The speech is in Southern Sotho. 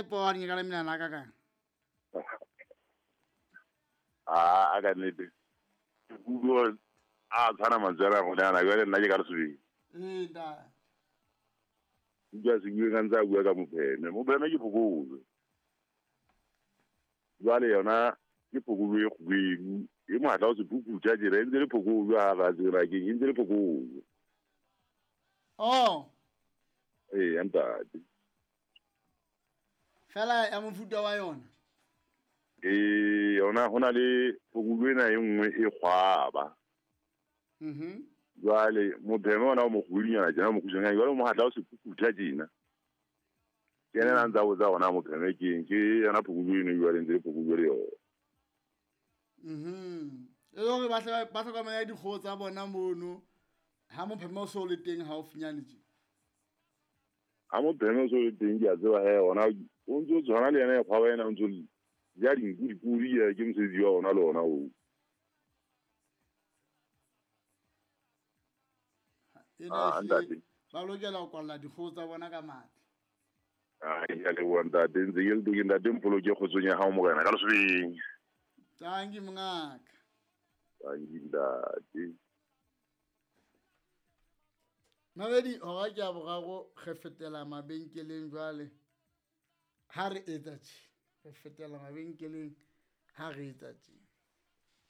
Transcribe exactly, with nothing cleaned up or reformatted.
Poane ka le menana ka kang. A a ka nnete. Kugo a tshwana mantswe a gone ana jwale nna ke ka Lesobeng. Ee ntate. Utlwa se bue ka ntse a bua ka mopheme. Mopheme ke phokojwe. Jwale yona ke phokojwe e kgubedu. E mohatla o se phuphutha tjena e ntse le phokojwe ha ba tsela keng e ntse le phokojwe. Oh. Ee ntate. Fela ya mofuta wa yona. Ee yona hona le phokojwe ena e nngwe e kgwaba. Mhm. Jwale mopheme ona o mokgubedunyana tjena o mokgutshwanyane jwale mohatla o se phuphutha tjena. Ke yena a ntsa botsa hona mopheme ke eng ke yona phokojwe eno jwale ntse le phokojwe le yona. Mhm. E le hore ba ba hlokomela dikgoho tsa bona mono ha mopheme o so le teng haufinyane tje. Ha mopheme o so le teng ke a tseba he ona o ntso tshwana le yena e kgwaba ena o ntso ja dinku dipodi ke mosebetsi wa ona le ona oo. Ena ehlile ba lokela ho kwalla dikgoho tsa bona ka matla. Ai ya leboha ntate ntse ke le teng ntate mpoloke kgotsong ya hao morena ka Lesobeng. Tanki mongaka. Tanki ntate. Mabedi hora ke ya boraro re fetela mabenkeleng jwale. Ha re etsa tje, re fetela mabenkeleng ha re etsa tje.